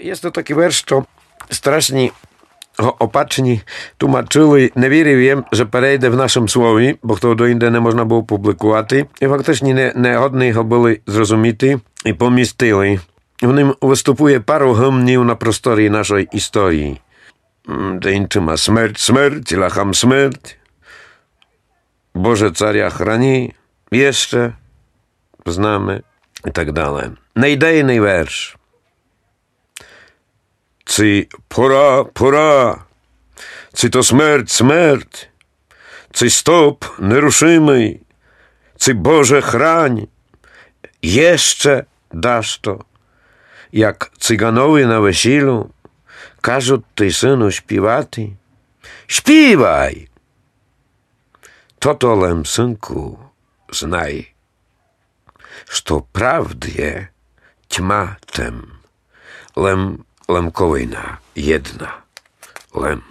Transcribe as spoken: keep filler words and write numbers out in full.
Єст то такый верш, што страшні го опачні тумачыли. Не вірив єм, же перейде в Нашым слові, бо того доінде не можна было публикувати. І фактычні не, негодні го были зрозуміти і помістили. В нім выступує пару гымнів на просторі нашой історії. М, де іншыма: смерть, смерть, лахам смерть, Боже, царя храни, єще знаме і так дале. Найдейный верш. Ци пора, пора, ци то смерть, смерть, ци стоп нерушимый, ци Боже хрань, єще дашто, як циганови на весілю кажуть ти, сину, співати. Співай! Тото лем, сынку, знай, што правд є тьма тем, лем, лемковина єдна, лем.